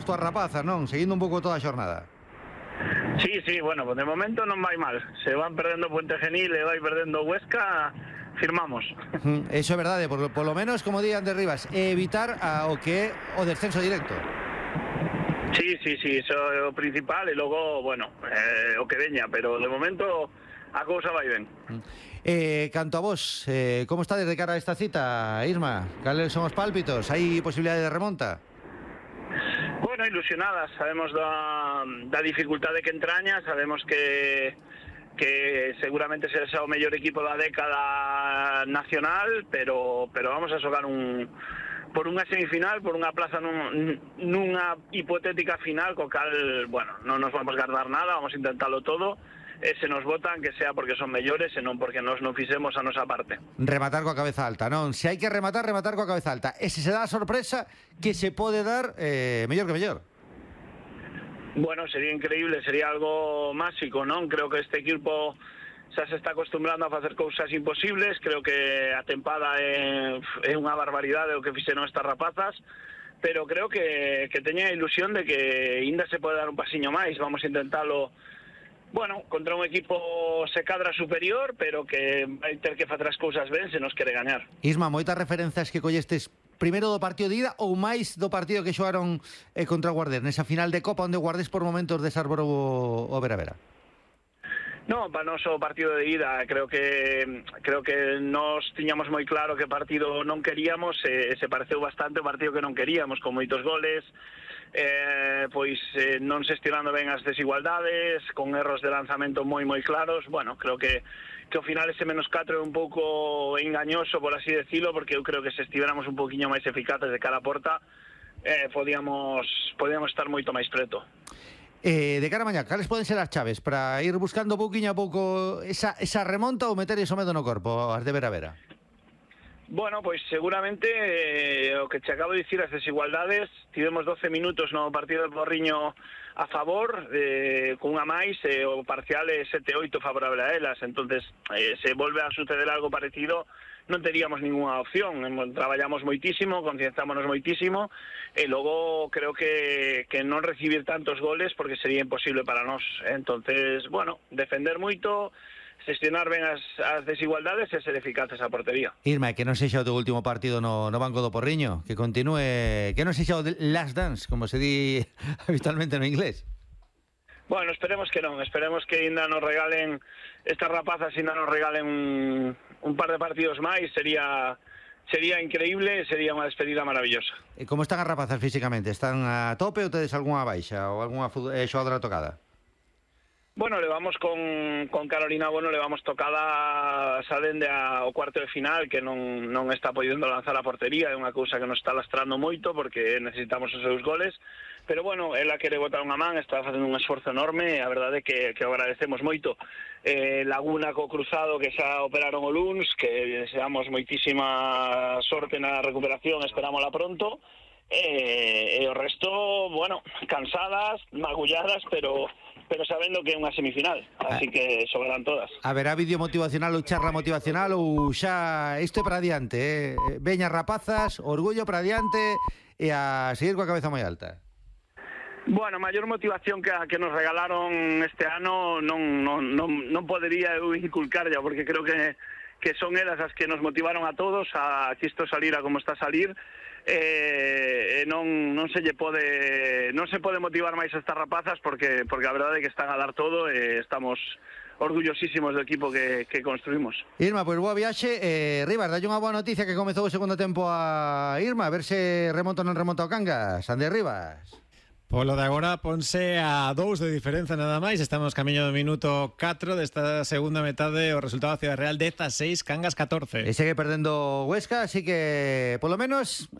túas rapazas, non? Seguindo un pouco toda a xornada. Sí, bueno, pues de momento non vai mal. Se van perdendo Puente Genil e vai perdendo Huesca, firmamos. Eso é verdade, por lo menos, como di Ander Rivas, evitar o que é o descenso directo. Sí, iso é o principal e logo, bueno, o que veña, pero de momento a cousa vai ben. Canto a vos, como está de cara a esta cita, Irma? Cales son os pálpitos? Hai posibilidade de remonta? Bueno, ilusionadas, sabemos da dificultade que entraña, sabemos que seguramente será o mellor equipo da década nacional, pero vamos a xogar por unha semifinal, por unha plaza nunha hipotética final, co cal, bueno, non nos vamos guardar nada, vamos a intentarlo todo, e se nos votan que sea porque son mellores e non porque nos non fixemos a nosa parte. Rematar coa cabeza alta, non? Se hai que rematar coa cabeza alta. E se dá a sorpresa que se pode dar, mellor que mellor. Bueno, sería increíble, sería algo máxico, non? Creo que este equipo xa se está acostumbrando a facer cousas imposibles, creo que a tempada é unha barbaridade o que fixeron estas rapazas, pero creo que teña a ilusión de que ainda se pode dar un pasiño máis, vamos a intentalo. Bueno, contra un equipo se cadra superior, pero que vai ter que facer as cousas ben se nos quere gañar. Isma, moitas referencias que collestes primeiro do partido de ida ou máis do partido que xogaron contra o Guardés, nesa final de Copa onde o Guardés por momentos desarborou o Vera. No, para nós o partido de ida creo que nos tiñamos moi claro que partido non queríamos, se pareceu bastante o partido que non queríamos, con moitos goles, non xestionando ben as desigualdades, con erros de lanzamento moi claros. Bueno, creo que ao final ese -4 é un pouco engañoso, por así decirlo, porque eu creo que se estiveramos un poquinho máis eficaces de cara a porta, podíamos estar moito máis preto. De cara a mañá, cales poden ser as chaves para ir buscando pouquiño a pouco esa remonta ou meter iso medo no corpo, as de Vera? Bueno, pois seguramente o que te acabo de dicir, as desigualdades, tivemos 12 minutos no partido do Porriño a favor, con unha máis, o parcial é 7-8 favorable a elas, entonces se volve a suceder algo parecido, non teríamos ninguna opción, traballamos moitísimo, concienciámonos moitísimo, e logo creo que non recibir tantos goles porque sería imposible para nós, entonces, bueno, defender moito, xestionar ben as desigualdades e ser eficaces a portería. Irma, que non sexa o teu último partido no banco do Porriño, que continúe, que non sexa o last dance, como se di habitualmente no inglés. Bueno, esperemos que non, esperemos que ainda nos regalen, estas rapazas ainda nos regalen un par de partidos máis, sería increíble, sería unha despedida maravillosa. E como están as rapazas físicamente? Están a tope ou tedes algunha baixa ou algunha xogadora tocada? Bueno, levamos con Carolina Bono, levamos tocada xa dende ao cuarto de final, que non está podendo lanzar a portería, é unha cousa que nos está lastrando moito porque necesitamos os seus goles, pero bueno, ela quere botar unha man, está facendo un esforzo enorme, a verdade é que agradecemos moito. Laguna co cruzado que xa operaron o luns, que deseamos moitísima sorte na recuperación, esperámola pronto, e o resto, bueno, cansadas, magulladas, pero sabendo que é unha semifinal, así que sobrarán todas. Haberá vídeo motivacional ou charla motivacional ou xa isto é para adiante, veñas rapazas, orgullo para adiante e a seguir coa cabeza moi alta. Bueno, maior motivación que nos regalaron este ano non podería eu inculcarlla, porque creo que son elas as que nos motivaron a todos a que isto salira como está a salir. Non se pode motivar máis a estas rapazas porque a verdade é que están a dar todo e estamos orgullosísimos do equipo que construímos. Irma, pois boa viaxe. Rivas, dalle unha boa noticia que comezou o segundo tempo a Irma, a ver se remonta ou non remonta o Cangas. Ander Rivas. Polo de agora ponse a 2 de diferenza nada máis. Estamos camiño do minuto 4 desta segunda metade. O resultado da Ciudad Real 16, Cangas 14. E segue perdendo Huesca, así que polo menos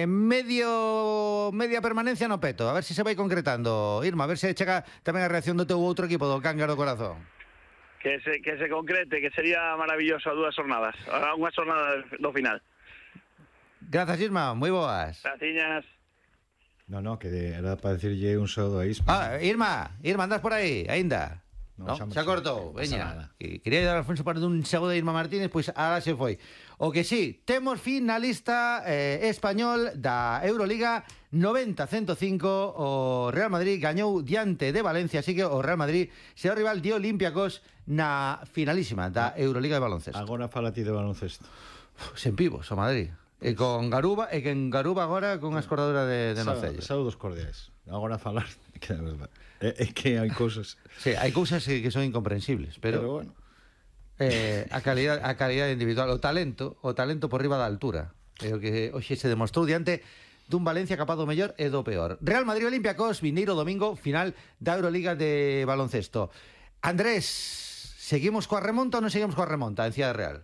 media permanencia no peto. A ver se vai concretando. Irma, a ver se chega tamén a reacción do teu outro equipo, do Cangas do Corazón. Que se concrete, que sería maravilloso a 2 jornadas. A unha jornada do final. Grazas, Irma, moi boas. Graciñas. No, que era para decirlle un saúdo a Isma. Irma, andas por aí, aínda? No, xa cortou, veña. Quería dar a Alfonso para un segundo de Irma Martínez, pois ahora se foi. O que sí, temos finalista español da Euroliga 90-105, o Real Madrid gañou diante de Valencia, así que o Real Madrid será o rival de Olympiacos na finalísima da Euroliga de baloncesto. Agora fala ti de baloncesto. Sen pibos, o Madrid. E con Garuba, agora con a escordadura de Nocelles. Saúdos cordiais. Agora falar, que é verdade. É que hai cousas. Sí, hai cousas que son incomprensibles, pero bueno. A calidade individual, o talento por riba da altura. É o que hoxe se demostrou diante dun Valencia capaz do mellor e do peor. Real Madrid Olympiacos, vindeiro domingo, final da Euroliga de baloncesto. Andrés, seguimos coa remonta ou non seguimos coa remonta en Cidade Real?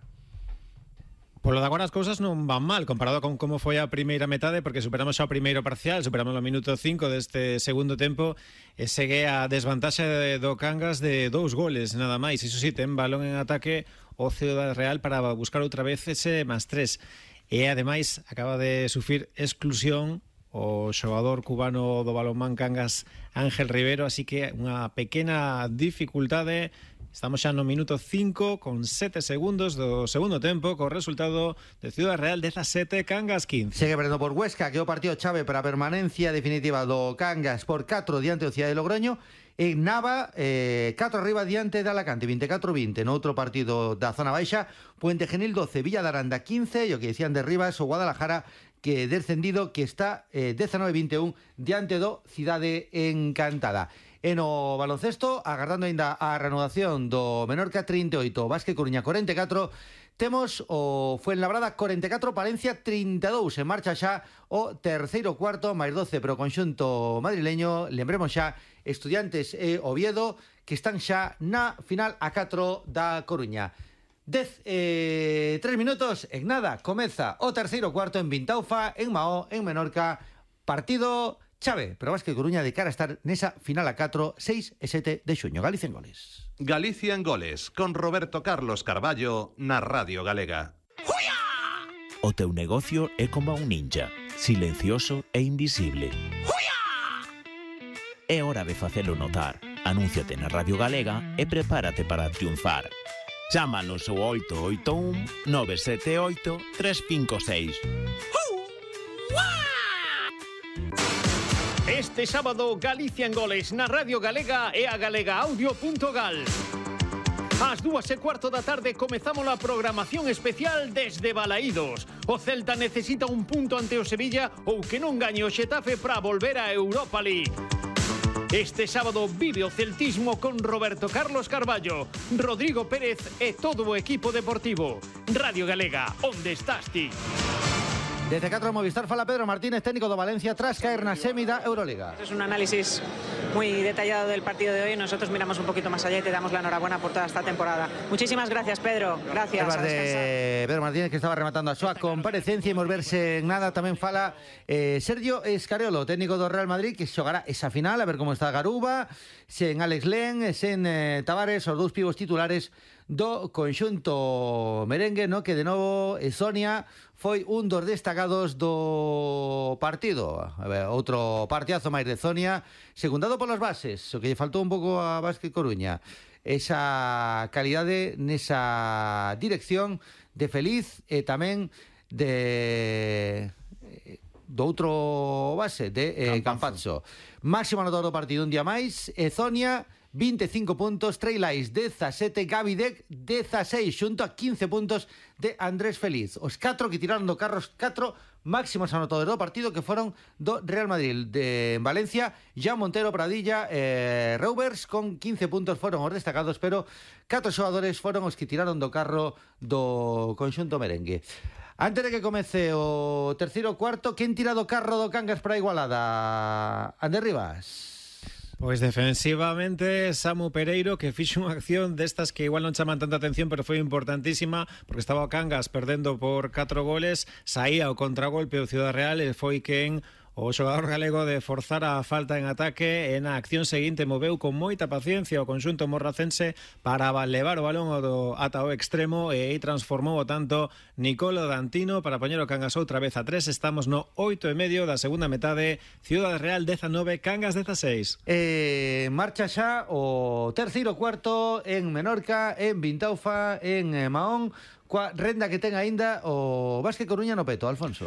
Polo de agora as cousas non van mal comparado con como foi a primeira metade, porque superamos xa o primeiro parcial, superamos o minuto 5 deste segundo tempo e segue a desvantaxe do Cangas de 2 goles nada máis. Iso sí, ten balón en ataque o Cidade Real para buscar outra vez ese +3. E ademais acaba de sufrir exclusión o xogador cubano do balonmán Cangas, Ángel Rivero, así que unha pequena dificultade. Estamos xa no minuto 5 con 7 segundos do segundo tempo, co resultado de Cidade Real 17, Cangas 15. Segue perdendo por Huesca, que é o partido chave para a permanencia definitiva do Cangas por 4 diante do Cidade de Logroño. E Nava, 4 arriba diante de Alacante, 24-20. No outro partido da zona baixa, Puente Genil 12, Villa de Aranda 15, e o que decían de Rivas, o Guadalajara, que descendido, que está 19-21 diante do Cidade Encantada. E no baloncesto, agardando ainda a reanudación do Menorca 38, Vázquez Coruña 44, temos o Fuenlabrada 44, Palencia 32. En marcha xa o terceiro cuarto, máis 12 pro conxunto madrileño. Lembremos xa, Estudiantes e Oviedo, que están xa na final a 4 da Coruña. 3 minutos, en nada, comeza o terceiro cuarto en Vintaufa, en Mahó, en Menorca, partido chave, pero Vázquez Coruña de cara a estar nesa final a 4, 6 e 7 de xuño. Galicia en goles. Galicia en goles, con Roberto Carlos Carballo na Radio Galega. O teu negocio é como un ninja, silencioso e invisible. É hora de facelo notar. Anúnciate na Radio Galega e prepárate para triunfar. Chámanos ao 881 978 356. Este sábado, Galicia en goles na Radio Galega e a galegaaudio.gal. Ás 2:15 da tarde comezamos a programación especial desde Balaídos. O Celta necesita un punto ante o Sevilla ou que non gañe o Xetafe para volver a Europa League. Este sábado vive o celtismo con Roberto Carlos Carballo, Rodrigo Pérez e todo o equipo deportivo. Radio Galega, onde estás ti? Desde 4 Movistar fala Pedro Martínez, técnico do Valencia, tras caer na semi da Euroliga. Es un análisis muy detallado del partido de hoy. Nosotros miramos un poquito más allá y te damos la enhorabuena por toda esta temporada. Muchísimas gracias, Pedro. Gracias. De Pedro Martínez, que estaba rematando a súa comparecencia, e volverse en nada. Tamén fala Sergio Escariolo, técnico do Real Madrid, que xogará esa final, a ver como está Garuba, sen Alex Len, sen Tavares, os dous pivos titulares do conxunto merengue, no, que de novo Sonia foi un dos destacados do partido. A ver, outro partidazo máis de Sonia, secundado polas bases, o que lle faltou un pouco a Vázquez Coruña, esa calidade nesa dirección de Feliz e tamén de do outro base de Campazzo. Máximo anotador do partido un día máis, Sonia 25 puntos, Trey Lyles 17, Gaby Deck 16, xunto a 15 puntos de Andrés Feliz. Os 4 que tiraron do carro, os 4 máximos anotadores do partido, que foron do Real Madrid. De Valencia, Jean Montero, Pradilla, Reuvers, con 15 puntos foron os destacados, pero 4 xogadores foron os que tiraron do carro do conxunto merengue. Antes de que comece o terceiro cuarto, quen tira do carro do Cangas para a igualada? Ander Rivas. Pois defensivamente Samu Pereiro, que fixo unha acción destas que igual non chaman tanta atención, pero foi importantísima, porque estaba o Cangas perdendo por 4 goles, saía o contragolpe do Cidade Real e foi quen o xogador galego de forzar a falta en ataque, e na acción seguinte moveu con moita paciencia o conxunto morracense para levar o balón ata o extremo, e aí transformou o tanto Nicolo Dantino para poñer o Cangas outra vez a 3. Estamos no 8:30 da segunda metade. Ciudad Real 19, Cangas 16. Marcha xa o terceiro cuarto en Menorca, en Vintaufa, en Mahón, coa renda que ten aínda o Básquet Coruña no peto, Alfonso.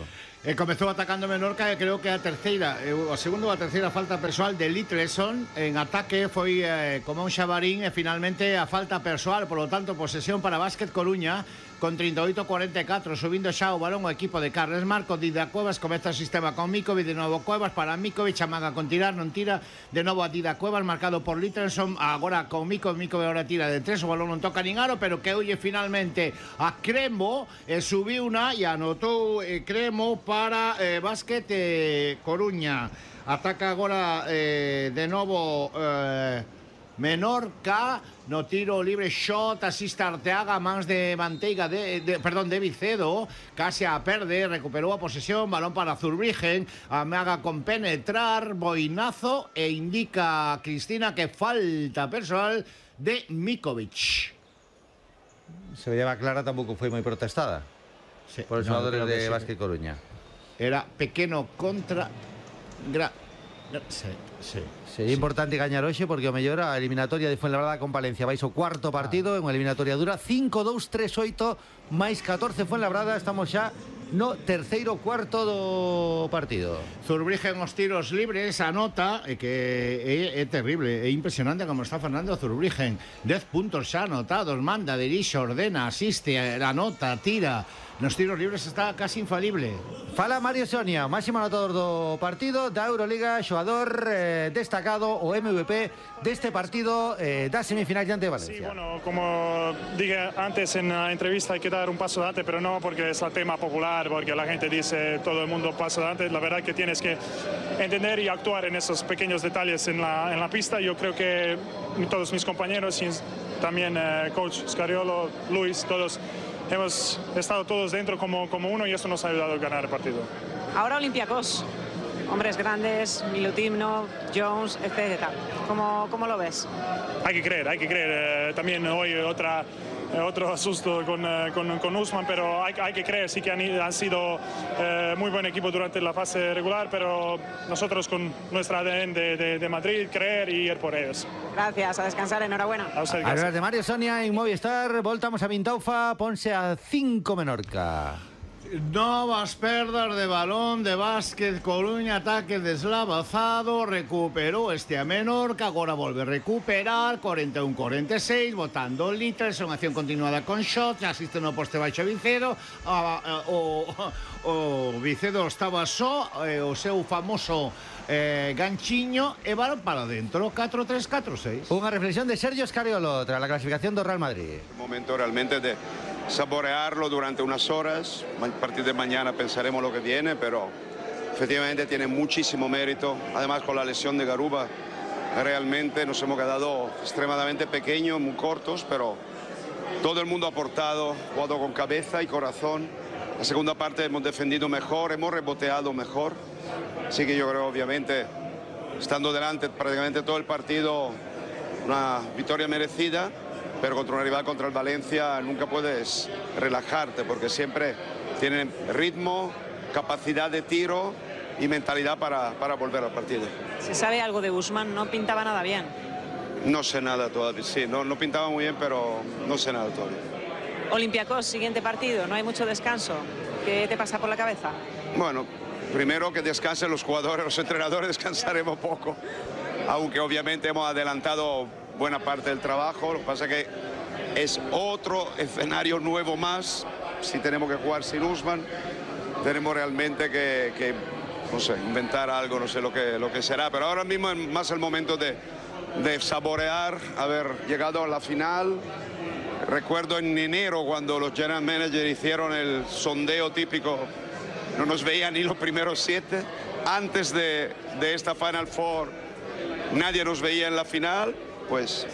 Comezou atacando Menorca e creo que a terceira, a segunda ou a terceira falta persoal de Litleson en ataque foi como un xabarín, e finalmente a falta persoal, polo tanto posesión para Básquet Coruña con 38-44, subindo xa o balón o equipo de Carles Marco. Dida Cuevas comeza o sistema con Mikovic, de novo Cuevas para Mikovic, amaga con tirar, non tira, de novo a Dida Cuevas, marcado por Litleson, agora con Mikovic ahora tira de 3, o balón non toca nin aro, pero que oye finalmente a Cremo, subiu una e anotou Cremo para Básquet Coruña. Ataca agora de novo Menorca no tiro libre, shot, asiste Arteaga, mans de Manteiga de Vicedo, casi a perde, recuperou a posesión, balón para Zurbriggen, amaga con penetrar, boinazo, e indica a Cristina que falta personal de Mikovic. Se veía clara, tampouco foi moi protestada por os xogadores de Básquet Coruña. Era pequeno contra... Sería importante gañar hoxe, porque o mellor a eliminatoria de Fuenlabrada con Palencia vais o cuarto partido, en unha eliminatoria dura 5-2-3-8 máis 14 Fuenlabrada. Estamos xa no terceiro cuarto do partido. Zurbriggen os tiros libres, anota, que é terrible, é impresionante como está Fernando Zurbriggen. 10 puntos xa anotados, manda, dirige, ordena, asiste, anota, tira. Nos tiros libres está casi infalible. Fala Mario Sonia, máximo anotador do partido da Euroliga, xogador destacado, o MVP deste partido da semifinal diante de Valencia. Sí, bueno, como dije antes en la entrevista, hay que dar un paso adelante, pero no porque es el tema popular, porque la gente dice todo el mundo paso adelante. La verdad que tienes que entender y actuar en esos pequeños detalles en la pista. Yo creo que todos mis compañeros y también coach Scariolo, Luis, todos hemos estado todos dentro como uno, y eso nos ha ayudado a ganar el partido. Ahora Olympiacos, hombres grandes, Milutinov, Jones, etc. ¿Cómo lo ves? Hay que creer. También hoy otro asusto con Usman, pero hay que creer. Sí que han sido muy buen equipo durante la fase regular, pero nosotros con nuestra ADN de Madrid, creer y ir por ellos. Gracias, a descansar, enhorabuena. A usted, a hablar de Mario Sonia en Movistar, voltamos a Vintaufa, ponse a 5 Menorca. Novas perdas de balón de Básquet Coruña, ataque deslavazado, recuperou este a Menorca, agora volve a recuperar, 41-46, botando litres, unha acción continuada con shots, asiste no poste baixo Vicedo, o Vicedo estaba só, o seu famoso ganchiño, e balón para dentro, 4-3, 4-6. Unha reflexión de Sergio Scariolo tras la clasificación do Real Madrid. Un momento realmente de saborearlo durante unas horas. A partir de mañana pensaremos lo que viene, pero efectivamente tiene muchísimo mérito. Además, con la lesión de Garuba, realmente nos hemos quedado extremadamente pequeños, muy cortos, pero todo el mundo ha aportado, jugado con cabeza y corazón. La segunda parte hemos defendido mejor, hemos reboteado mejor. Así que yo creo, obviamente, estando delante prácticamente todo el partido, una victoria merecida. Pero contra una rival, contra el Valencia, nunca puedes relajarte, porque siempre tienen ritmo, capacidad de tiro y mentalidad para volver al partido. ¿Se sabe algo de Usman? No pintaba nada bien. No sé nada todavía, sí, no pintaba muy bien, pero no sé nada todavía. Olympiacos, siguiente partido, no hay mucho descanso. ¿Qué te pasa por la cabeza? Bueno, primero que descansen los jugadores, los entrenadores descansaremos poco, aunque obviamente hemos adelantado buena parte del trabajo. Lo que pasa es que es otro escenario nuevo más. Si tenemos que jugar sin Usman, tenemos realmente que no sé, inventar algo, no sé lo que será, pero ahora mismo es más el momento de saborear haber llegado a la final. Recuerdo en enero cuando los general managers hicieron el sondeo típico, no nos veían ni los primeros 7. Antes de esta Final Four nadie nos veía en la final. Pues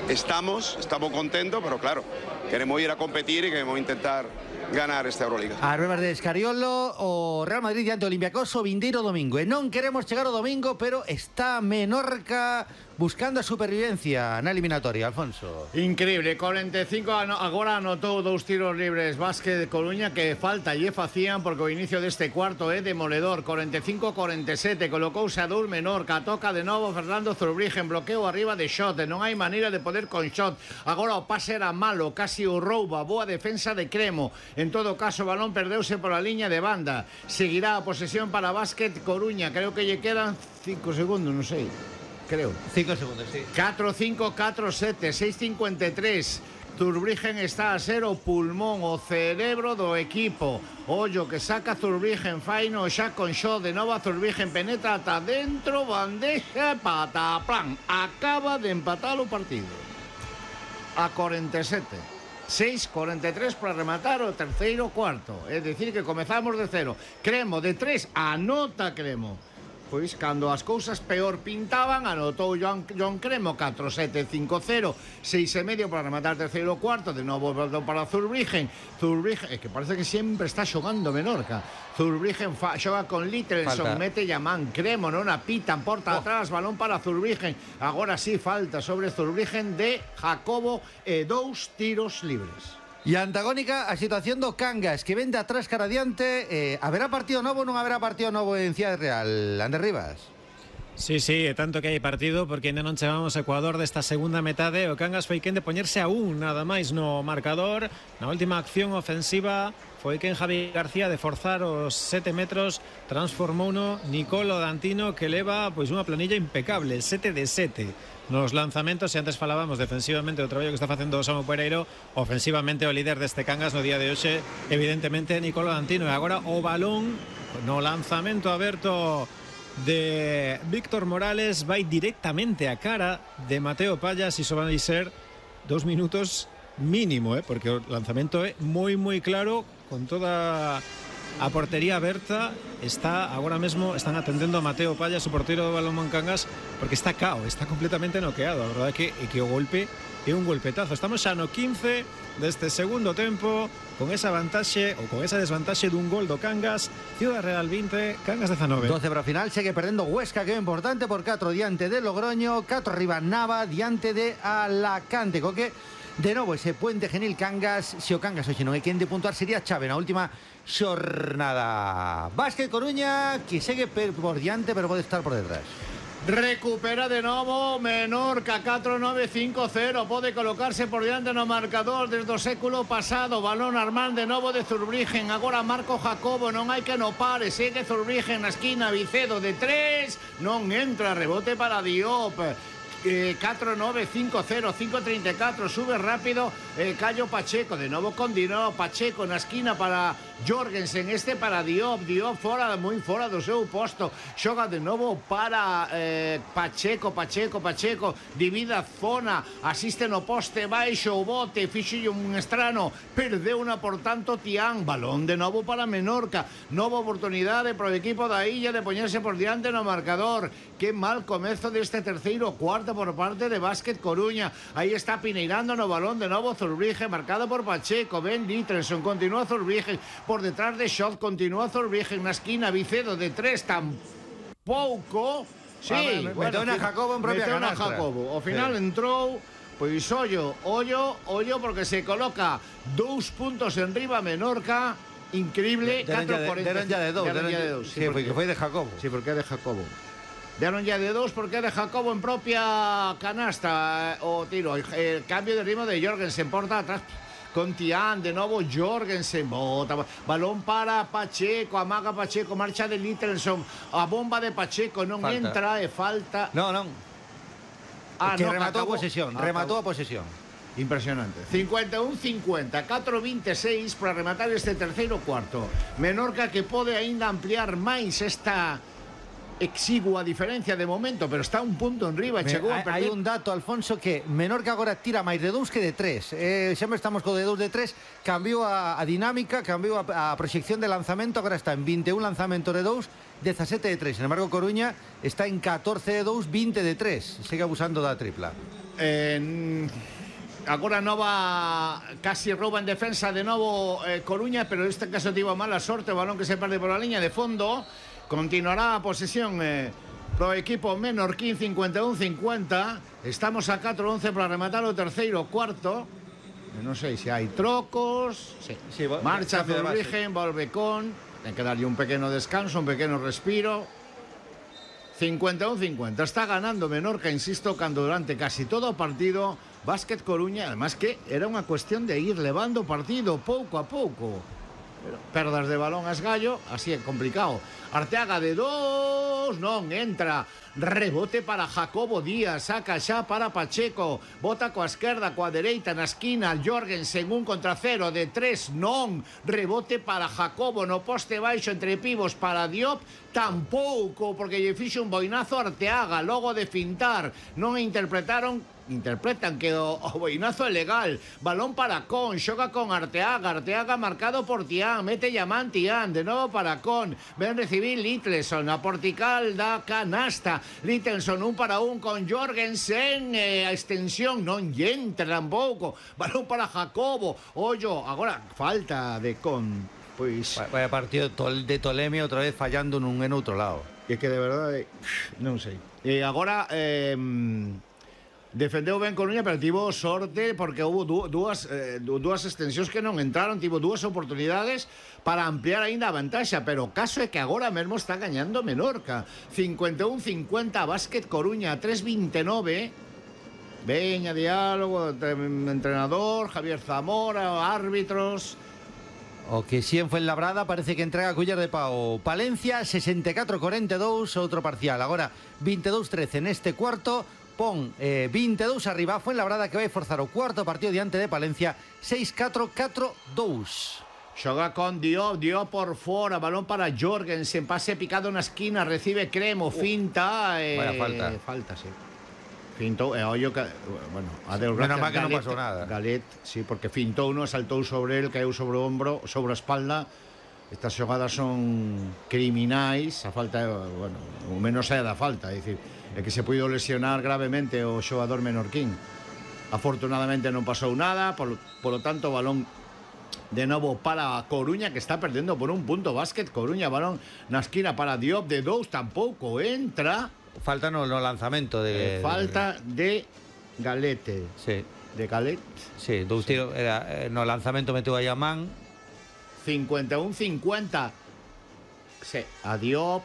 estamos contentos, pero claro, queremos ir a competir y queremos intentar ganar esta Euroliga. A Rubén de Escariolo, o Real Madrid diante do Olympiacos o vindeiro domingo. E non queremos chegar ao domingo, pero está Menorca buscando a supervivencia na eliminatoria, Alfonso. Increíble, 45 agora anotou 2 tiros libres Vázquez de Coruña, que falta lle facían porque o inicio deste cuarto é demoledor. 45-47, colocouse a Dur Menorca, toca de novo Fernando Zurbriggen, bloqueo arriba de Shot, non hai maneira de poder con Shot. Agora o pase era malo, casi o rouba, boa defensa de Cremo. En todo caso, o balón perdeuse pola liña de banda. Seguirá a posesión para Vázquez Coruña, creo que lle quedan 5 segundos, non sei. Creo. 5 segundos, sí. 4-5, 4-7, 6-53. Zurbriggen está a ser o pulmón, o cerebro do equipo. Ollo que saca Zurbriggen, faino xa con Shot, de novo a Zurbriggen, penetra ata dentro, bandeja, pataplan. Acaba de empatar o partido. A 47. 6-43 para rematar o terceiro cuarto. É dicir que comezamos de cero. Cremo de 3, anota Cremo. Pois cando as cousas peor pintaban, anotou John Cremo 4-7, 5-0, 6,5 para rematar terceiro cuarto. De novo voltou para Zurbriggen. Zurbriggen, é que parece que sempre está xogando Menorca. Zurbriggen xoga con Littlesson, mete Yaman. Cremo non apitan, porta atrás, balón para Zurbriggen. Agora sí falta sobre Zurbriggen de Jacobo e 2 tiros libres. E antagónica a situación do Cangas, que vende atrás cara adiante. Haberá partido novo ou non haberá partido novo en Ciudad Real? Ander Rivas. Sí, tanto que hai partido, porque ainda non chegamos ao Ecuador desta segunda metade. O Cangas foi quen de poñerse a nada máis no marcador. Na última acción ofensiva foi quen Javi García de forzar os 7 metros, transformouno Nicolo Dantino, que leva pois unha planilla impecable, 7 de 7 nos lanzamentos. E antes falábamos defensivamente do traballo que está facendo o Samu Pereiro, ofensivamente o líder deste Cangas no día de hoxe, evidentemente Nicolo Dantino. E agora o balón no lanzamento aberto de Víctor Morales vai directamente a cara de Mateo Payas. Iso vai ser 2 minutos mínimo, porque o lanzamento é moi claro, con toda a portería aberta. Está agora mesmo, están atendendo a Mateo Payas, o porteiro do Balonmán Cangas, porque está cao, está completamente noqueado. A verdade é que o golpe é un golpetazo. Estamos xa no 15 deste segundo tempo, con esa vantaxe ou con esa desvantaxe dun gol do Cangas. Ciudad Real 20, Cangas 19. 12 para o final, segue perdendo Huesca, que é importante, por 4 diante de Logroño, 4 arriba Nava diante de Alacante, co que de novo ese puente genil Cangas. Se o Cangas hoxe non é quen de puntuar, sería chave na última xornada. Vázquez Coruña, que segue por diante, pero pode estar por detrás. Recupera de novo Menorca, 4-9-5-0, pode colocarse por diante no marcador desde o século pasado. Balón Armán de novo de Zurbriggen, agora Marco Jacobo, non hai que no pare, segue Zurbriggen na esquina, Vicedo de 3, non entra, rebote para Diop. 4-9-5-0, 5-34, sube rápido Cayo Pacheco, de novo con Dino Pacheco na esquina para Jorgensen, este para Diop, fora, moi fora do seu posto, xoga de novo para Pacheco, divide a zona, asiste no poste baixo, o bote, fixille un estrano, perdeu unha por tanto Tián, balón de novo para Menorca, nova oportunidade para o equipo da Illa de poñerse por diante no marcador. Que mal comezo deste terceiro cuarto por parte de Vázquez Coruña. Aí está pineirando no balón de novo Zurbriggen, marcado por Pacheco. Ben Littlesson, continúa Zurbriggen por detrás de Shot, continúa Zurbriggen na esquina, Vicedo de 3, tampouco. Sí, meteu na Jacobo en propia canastra. Jacobo. Ao final entrou, pois ollo, porque se coloca 2 puntos en riba Menorca. Increíble. Deron ya de 2. Sí, porque foi de Jacobo. Sí, porque é de Jacobo. Deron ya de 2 porque é de Jacobo en propia canasta o tiro. El cambio de ritmo de Jorgensen, porta atrás con Tián, de novo Jorgensen, bota, balón para Pacheco, amaga Pacheco, marcha de Littlesson, a bomba de Pacheco, non falta. Entra e falta. Non. Que no, rematou a posesión. Impresionante. 51-50, 4-26 para rematar este terceiro cuarto. Menorca que pode aínda ampliar máis esta exigua diferencia de momento, pero está un punto en riba. Hai un dato, Alfonso, que Menorca agora tira máis de 2 que de 3. Sempre estamos co de 2 de 3. Cambiou a dinámica, cambiou a proxección de lanzamento. Agora está en 21 lanzamentos de 2, 17 de 3. Sin embargo, Coruña está en 14 de 2, 20 de 3. Sigue abusando da tripla. agora nova casi rouba en defensa de novo Coruña, pero neste caso tivo mala sorte, o balón que se perde por a liña de fondo. Continuará a posesión pro equipo menorquín, 51-50. Estamos a 4-11 para rematar o terceiro cuarto. Non sei se hai trocos. Sí, marcha Zurbriggen, volve con. Ten que darlle un pequeno descanso, un pequeno respiro. 51-50. Está ganando Menorca, insisto, cando durante casi todo o partido Básquet Coruña, además que era unha cuestión de ir levando o partido pouco a pouco. Pero perdas de balón a esgallo, así é complicado. Arteaga de 2, non entra. Rebote para Jacobo Díaz, saca xa para Pacheco, bota coa esquerda, coa dereita na esquina, Jorgensen 1 contra 0 de 3, non. Rebote para Jacobo no poste baixo entre pivos para Diop, tampouco, porque lle fixo un boinazo a Arteaga logo de fintar. Non interpretan que o boinazo é legal. Balón para Con, xoga con Arteaga marcado por Tián, mete Yaman Tián, de novo para Con, ven recibir Littleson, a portical da canasta. Littleson 1 para 1 con Jorgensen, a extensión non lle entra tampouco. Balón para Jacobo, ollo, agora falta de Con. Pois vaya partido de Tolemio outra vez fallando nun en outro lado. É que de verdade non sei. Agora defendeu ben Coruña, pero tivo sorte porque houve dúas extensións que non entraron, tivo dúas oportunidades para ampliar aínda a vantaxa, pero o caso é que agora mesmo está gañando Menorca. 51-50, Básquet Coruña, 3-29. Veña, diálogo, entrenador, Javier Zamora, árbitros. O que si en Fuenlabrada parece que entrega culler de pau. Palencia, 64-42, outro parcial. Agora, 22-13 neste cuarto. Pon 22 arriba Fuenlabrada, que vai forzar o cuarto partido diante de Palencia, 6-4-4-2. Xoga con Diop por fora, balón para Jorgensen, pase picado na esquina, recibe Cremo, finta. Vaya falta. Falta, sí. Fintou, ollo que, bueno, a Deus gracias. Menos mal que non pasou nada. Galet, sí, porque fintou uno, saltou sobre el, caeu sobre o hombro, sobre a espalda. Estas xogadas son criminais, a falta, bueno, o menos é da falta, é dicir, é que se puido lesionar gravemente o xogador menorquín. Afortunadamente non pasou nada, polo tanto, balón de novo para Coruña, que está perdendo por un punto. Básquet Coruña, balón na esquina para Diop de 2, tampouco entra. Falta no lanzamento de... falta de Galete. Sí. De Galet. Sí, dous tiros, era, no lanzamento meteu a Yaman. 51-50. Sí, a Diop.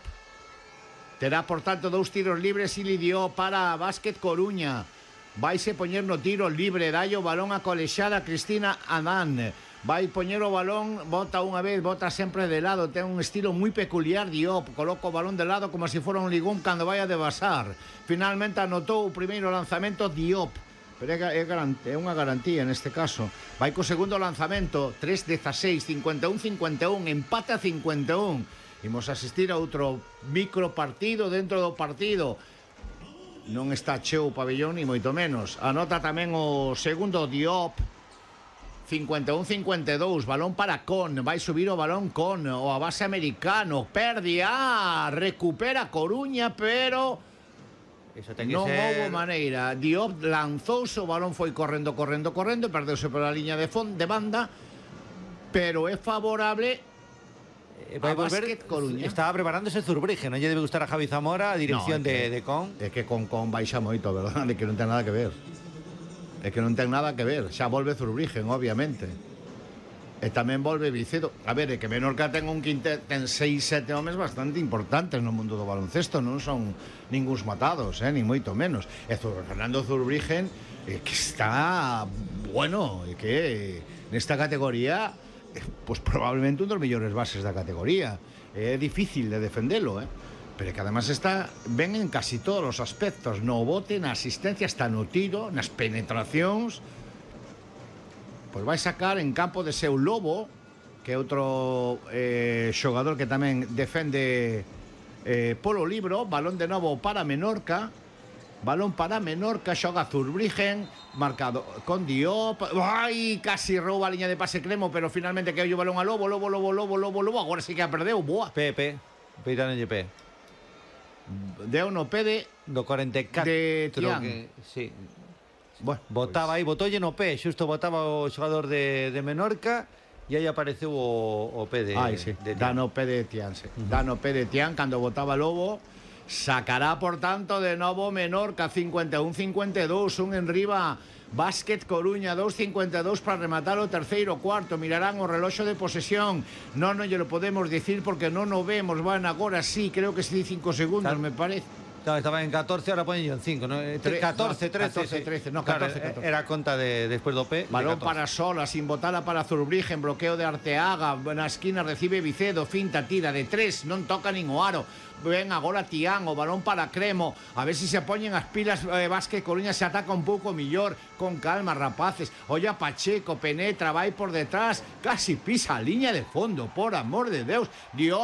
Terá, por tanto, dous tiros libres Ili Diop para Básquet Coruña. Vaise poñer no tiro libre, dallo balón a colexada Cristina Adán. Vai poñer o balón, bota unha vez, bota sempre de lado, ten un estilo moi peculiar Diop, coloca o balón de lado como se fora un ligón cando vai a debasar. Finalmente anotou o primeiro lanzamento Diop, pero é unha garantía neste caso. Vai co segundo lanzamento, 3-16, 51-51, empate a 51. Imos asistir a outro micro partido dentro do partido. Non está cheo o pabellón, ni moito menos. Anota tamén o segundo Diop. 51-52, balón para Con, vai subir o balón Con, o a base americano, perde, recupera Coruña, pero non houve maneira. Diop lanzouse, o balón foi correndo, e perdeuse pola liña de banda, pero é favorable a Básquet Coruña. Estaba preparándose Zurbriggen, non lle debe gustar a Javi Zamora a dirección de Con. É que con baixa moito, verdade, que non ten nada que ver. É que non ten nada que ver. Xa volve Zurbriggen, obviamente. E tamén volve Vicedo. A ver, é que Menorca ten un quintet, ten 6-7 homes bastante importantes no mundo do baloncesto. Non son ningúns matados, ni moito menos. E Fernando Zurbriggen, que está bueno, e que nesta categoría, pues probablemente un dos mellores bases da categoría. É difícil de defendelo, pero que además está ben en casi todos os aspectos, no bote, na asistencia, está no tiro, nas penetracións. Pois vai sacar en campo de seu Lobo, que é outro xogador que tamén defende polo libro. Balón de novo para Menorca, xoga Zurbriggen, marcado con Diop. Ai, casi rouba a liña de pase Cremo, pero finalmente que o balón a Lobo, agora sí que a perdeu. Boa. Peitano GP. Deu no pede do 44 de Tián. Sí. Bueno, botaba aí, botolle no pé, xusto botaba o xogador de Menorca e aí apareceu o pé de Tian. Da no pé de Tian, Da no pé de Tian cando botaba Lobo. Sacará, por tanto, de novo Menorca 51-52, un en riba. Básquet Coruña 2.52 para rematar o terceiro cuarto. Mirarán o reloxo de posesión. Non lle lo podemos dicir porque non o vemos. Van agora sí, creo que sí 5 segundos, me parece. Claro, estaba en 14, ahora ponen en 5, ¿no? 14, 13. No, 14. Era conta de después do P. Balón para Sola, sin botada para Zurbriggen, bloqueo de Arteaga, na esquina recibe Vicedo, finta, tira de 3, non toca nin o aro. Ven agora Tian, o balón para Cremo, a ver si se poñen as pilas. Básquet Coruña se ataca un pouco millor, con calma, rapaces. Olla Pacheco, penetra, vai por detrás, casi pisa a liña de fondo, por amor de Deus. Dios.